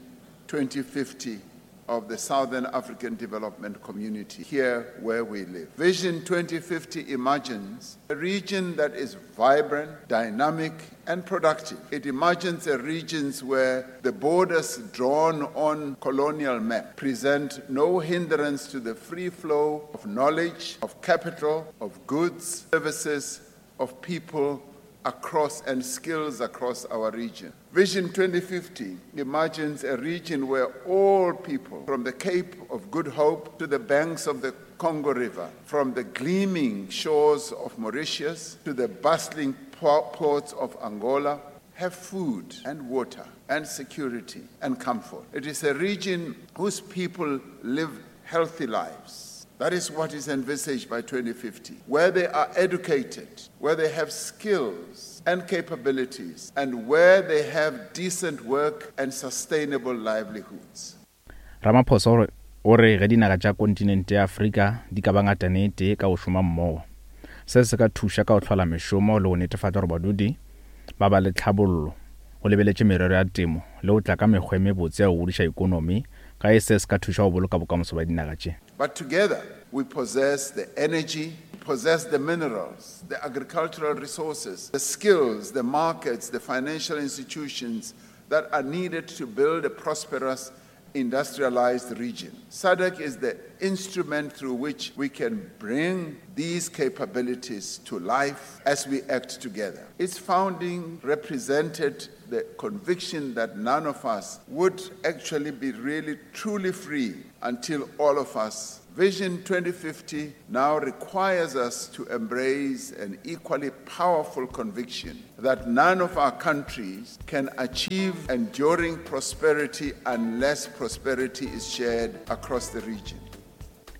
2050 of the Southern African Development Community, here where we live. Vision 2050 imagines a region that is vibrant, dynamic, and productive. It imagines a region where the borders drawn on colonial map present no hindrance to the free flow of knowledge, of capital, of goods, services, of people across and skills across our region. Vision 2050 imagines a region where all people, from the Cape of Good Hope to the banks of the Congo River, from the gleaming shores of Mauritius to the bustling ports of Angola, have food and water and security and comfort. It is a region whose people live healthy lives. That is what is envisaged by 2050, where they are educated, where they have skills and capabilities, and where they have decent work and sustainable livelihoods. Ramaphosa o re ge dinaga tša kontinente ya Afrika di ka ba ngatana e tee ka go šoma mmogo, se se ka thuša ka go hlola mešomo le go netefatša gore badudi ba ba le tlhabollo go lebeletše merero ya temo le go tla ka mekgwa e mebotse ya go godiša ikonomi ka ge se se ka thuša go boloka bokamoso bja dinaga tše. But together we possess the energy, possess the minerals, the agricultural resources, the skills, the markets, the financial institutions that are needed to build a prosperous industrialized region. SADC is the instrument through which we can bring these capabilities to life as we act together. Its founding represented the conviction that none of us would actually be really truly free until all of us Vision 2050 now requires us to embrace an equally powerful conviction that none of our countries can achieve enduring prosperity unless prosperity is shared across the region.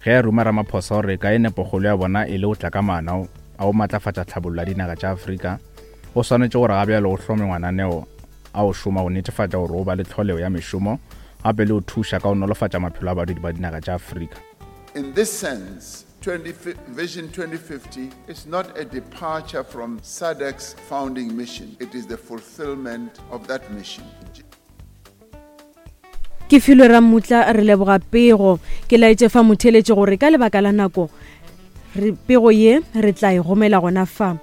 Ge a ruma Ramaphosa gore ka e nepokgolo ya bona e le go tla ka maano a go matlafatša tlhabollo ya dinaga tša Afrika, go swanetše gore ga bjalo go hlome mananeo a go šoma go netefatša gore go ba le tlholego ya mešomo gape le go thuša ka go nolofatša maphelo a badudi ba dinaga tša Afrika. In this sense, 20, Vision 2050 is not a departure from SADC's founding mission. It is the fulfillment of that mission. Ke filwe Rammutla re leboga pego. Ke laetše fa motheeletši gore ka lebaka la nako re pego ye re tla e gomela gona fa.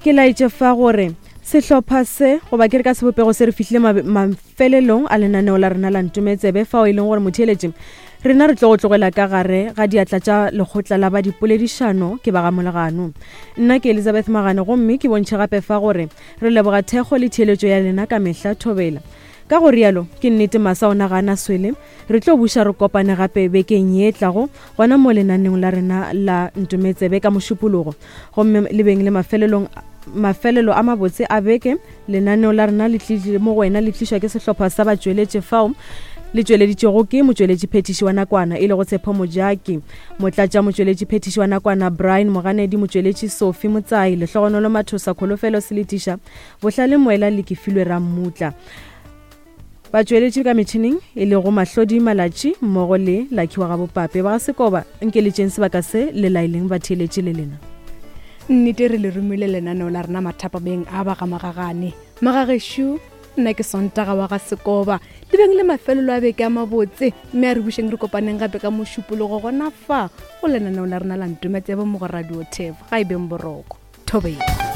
Ke laetše fa gore sehlopha se goba ke re ka sebopego se re fihlile mafelelong a lenaneo la rena la Ntometsebe fao e leng gore motheeletši rena re tlo go tlogela ka gare ga diatla tša lekgotla la ba dipoledišano ke ba ga Molegano. Nna ke Elizabeth Magane gomme ke bontšhe gape fa gore re leboga thekgo le theeletšo ya lena ka mehla thobela. Ka go rialo, ke nnete masa ona ga a na swele. Re tlo buša re kopane gape bekeng ye e tlago, gona mo lenaneong la rena la Ntometsebe ka Mošupologo. Gomme le beng le mafelelong mafelelo a mabotse a beke. Lenaneo la rena le tlile mo go wena le tlišwa ke sehlopha sa batšweletši fao le tšweleditšwego ke motšweletšiphethiši wa nakwana e lego Tshepo Mojaki, motlatšamotšweletšiphethiši wa nakwana Brian Moganedi, motšweletši Sophie Motsai, Lehlogonolo Mathosa, Kholofelo Seletiša, Bohlale Moela le Kefilwe Rammutla. Batšweletši ka metšhineng e lego Mahlodi Malatši mmogo le Lucky wa Gabopape ba ga Sekoba, nkeletšeng sebaka se le laeleng batheeletši le lena. Nnete re le romile lenaneo la rena mathapameng a ba ga Magagane. Magagešo, nna ke Sontaga wa ga Sekoba. Le beng le mafelelo a beke a mabotse, mme a re bušeng re kopaneng gape ka Mošupologo gona fa go lenaneo la rena la Ntometsebe mo go Radio Tef. Ga e beng boroko. Thobela.